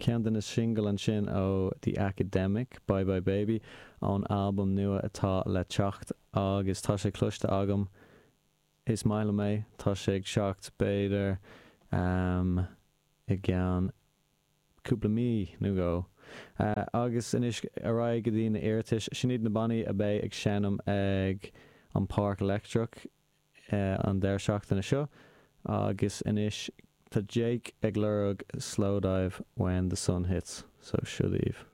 Ceann de na singil ansin ó The Academic, Bye Bye Baby, ón albam nua atá le teacht agus tá sé cloiste agam. Is maith liom é. Tá sé ag teacht b'fhéidir i gceann cúpla mí nó dhó. Agus anois ar aghaidh go dtí na iarratais. Sin iad na bannaí a bheidh ag seinm ag an Páirc Leictreach. an deireadh seachtaine seo agus anois tá Jake ag lorg Slowdive When the Sun Hits so seo daoibh.